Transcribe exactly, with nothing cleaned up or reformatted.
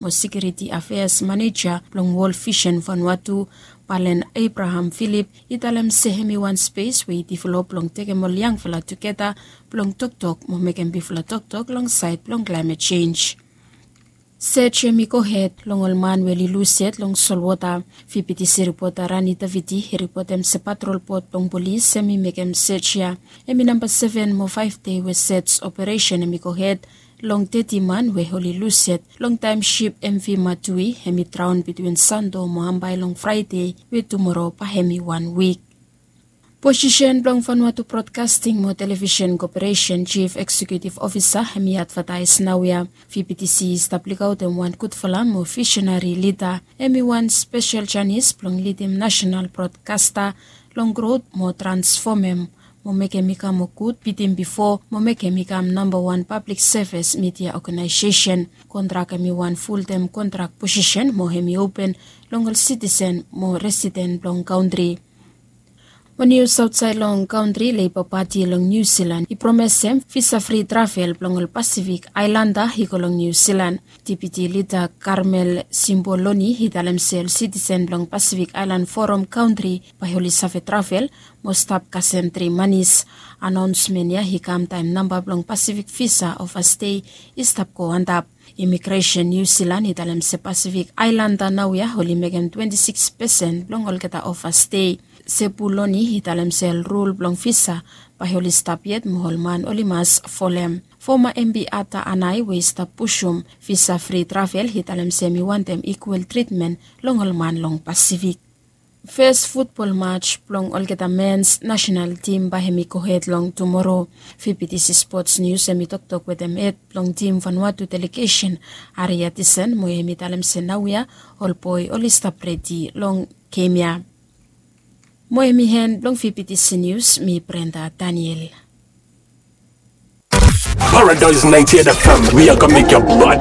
mo Security Affairs Maneja blong World Vision Vanuatu, Palen Abraham Philip, i talem se hemi wan spes we i develop blong tekem ol yangfala tugeta blong toktok mo mekem bigfala toktok long saed blong klaemet jenj. Sej hemi gohed long ol man we oli lus yet long solwota. VBTC ripota Rani Davidi i ripotem se patrol bot blong polis hemi mekem sej ya. Hemi namba seven mo faef dei we sej operesen hemi gohed long teti man we oli lus yet long taem sip MV Matui hemi draon bitwin Santo mo Hambai long Fraede we tumoro bae hemi wan wik. Posisen blong Vanuatu Broadcasting mo Television Corporation Chief Executive Officer hemi advataes naoia. VBTC i stap lukaotem wan gudfala mo visenari lida. Hemi wan spesel janis blong lidim nasenal brodkasta long grot mo transfomem mo mekem i kam moa gud bitim bifo mo mekem i kam nambawan pablik sevis midia oganaesesen. Kontrak hemi wan fultem kontrak posisen mo hemi open long ol sitisen mo residen blong kantri. Mo nius aotsaed long kantri, Leiba Pati long Niu Silan i promesem visa fri travel blong ol Pasifik aelanda i go long Niu Silan. Depiti lida Karmel Simboloni i talem se ol sitisen blong Pasifik Aelan Foram kantri bae oli save travel mo stap kasem tri manis. Anaonsmen ya i kam taem namba blong Pasifik visa ovastei i stap go antap. Imigresen Niu Silan i talem se Pasifik aelanda naoia oli mekem twenti sikis pesen blong olgeta ovastei. Sebuloni i talem se ol rul blong visa bae oli stap yet mo ol man oli mas folem. Foma MP Ata Anae we i stap pusum visa fri travel i talem se hemi wantem ikwal tritmen long ol man long Pasifik. Fes futbol mats blong olgeta mens nasenal tim bae hemi gohed long tumoro. VBTC Spots Nius hemi toktok wetem hed blong tim Vanuatu delegesen, Ari Atisen, mo hemi talem se naoia ol boe oli stap redi long gem ya. Mo hemi en blong VBTC Nius, mi Brenda Daniel. Paradise ninety-eight FM, we are gonna make your body